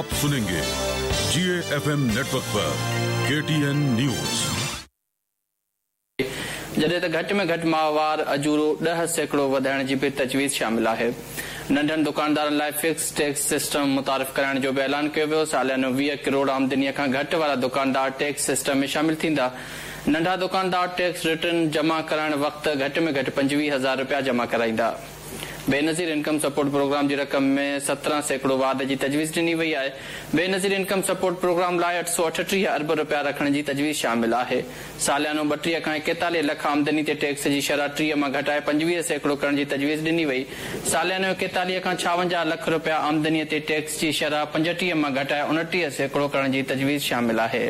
आप सुनेंगे जीएफएम नेटवर्क पर KTN news. جڏهن ته گهٽ ۾ گهٽ ماهوار اجورو 10% وڌائڻ جي به تجويز شامل آهي. ننڍن دڪاندارن لاء فڪس ٽيڪس سسٽم متعارف ڪرائڻ جو به اعلان ڪيو ويو. ساليانو 20 ڪروڙ آمدنيء کان گهٽ وارا دڪاندار ٽيڪس سسٽم ۾ شامل ٿيندا. ننڍا دڪاندار ٽيڪس رٽرن جمع ڪرائڻ وقت گهٽ ۾ گهٽ 25 هزار رپيا جمع ڪرائيندا. بينظير انڪم سپورٽ پروگرام جي رقم ۾ 17% واڌ جي تجويز ڏني وئي آهي. بينظير انڪم سپورٽ پروگرام لاء 838 ارب رپيا رکڻ جي تجويز شامل آهي. ساليانو 32 کان 41 لک آمدني تي ٽيڪس جي شرح 30 مان گهٽائي 25% ڪرڻ جي تجويز ڏني وئي. ساليانو 41 کان 56 لک رپيا آمدني تي ٽيڪس جي شرح 35 مان گهٽائي 29% ڪرڻ جي تجويز شامل آهي.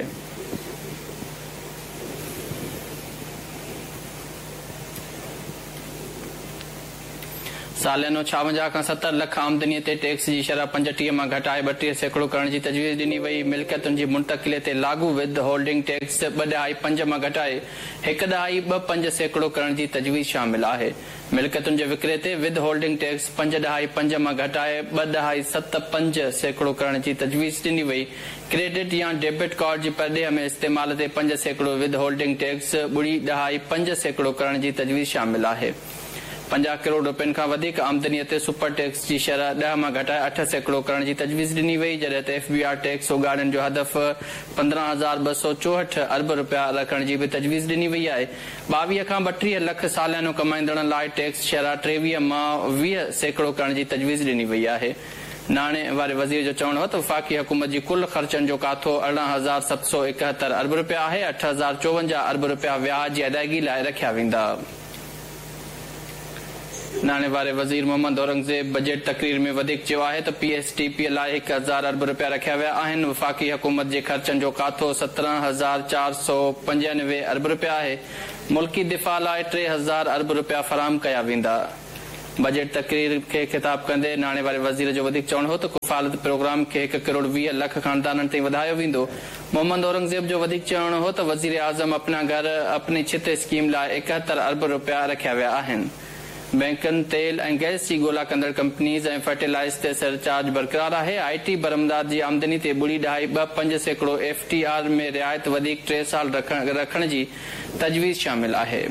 ساليانو 56 کان 70 لک آمدني تي ٽيڪس جي شرح 35 مان گهٽائي 32% ڪرڻ جي تجويز ڏني وئي. ملڪيتن جي منتقلي تي لاڳو ود هولڊنگ ٽيڪس 2.5 مان گهٽائي 1.25% ڪرڻ جي تجويز شامل آهي. ملڪيتن جي وڪري تي ود هولڊنگ ٽيڪس 5.5 مان گهٽائي 2.75% ڪرڻ جي تجويز ڏني وئي. ڪريڊٽ يا ڊيبٽ ڪارڊ جي پرڏيهه ۾ استعمال تي 5% ود هولڊنگ ٽيڪس 0.5% ڪرڻ جي تجويز شامل آهي. 50 ڪروڙ رپين کان وڌيڪ آمدنيء تي سپر ٽيڪس جي شرح 10 مان گهٽائي 8% ڪرڻ جي تجويز ڏني وئي، جڏهن ته ايف بي آر ٽيڪس اوڳاڙين جو هدف 15,264 ارب رپيا رکڻ جي به تجويز ڏني وئي آهي. 22 کان 32 لک ساليانو ڪمائيندڙن لاء ٽيڪس شرح 23 مان 20% ڪرڻ جي تجويز ڏني وئي آهي. ناڻي واري وزير جو چوڻ هو ته وفاقي حڪومت جي ڪل خرچن جو ڪاٿو 18,771 ارب رپيا آهي، 8,054 ارب رپيا وياج جي ادائيگي لاء رکيا ويندا. ناڻي واري وزير محمد اورنگزيب بجيٽ تقرير ۾ وڌيڪ چيو آهي ته پي ايس ڊي پي لاء 1000 ارب رپيا رکيا ويا آهن، وفاقي حڪومت جي خرچن جو ڪاٿو 17,495 ارب رپيا آهي، ملڪي دفاع لاء 3000 ارب رپيا فراهم ڪيا ويندا. بجيٽ تقرير کي خطاب ڪندي ناڻي واري وزير جو وڌيڪ چوڻ هو ته ڪفالت پروگرام کي 1 ڪروڙ 20 لک خاندانن تائين وڌايو ويندو. محمد اورنگزيب جو وڌيڪ چوڻ هو ته وزيراعظم اپنا گهر اپني ڇت اسڪيم لاء 71 ارب رپيا رکيا ويا آهن. بئنڪن، تيل ۽ گئس جي ڳولا ڪندڙ ڪمپنيز ۽ فرٽيلائز تي سرچارج برقرار آهي. آء ٽي برآمدات جي آمدني تي 0.25% ايف ٽي آر ۾ رعايت وڌيڪ ٽي سال رکڻ جي تجويز شامل آهي.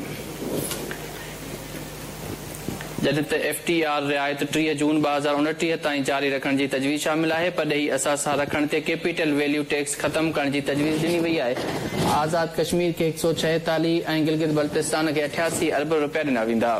جڏهن ته ايف ٽي آر رعايت 30 جون 2029 تائين جاري رکڻ جي تجويز شامل آهي، پرڏيهي اثاثا رکڻ تي ڪيپيٽل ويليو ٽيڪس ختم ڪرڻ جي تجويز ڏني وئي آهي، آزاد ڪشمير کي 146 ۽ گلگت بلتستان کي 88 ارب رپيا ڏنا ويندا.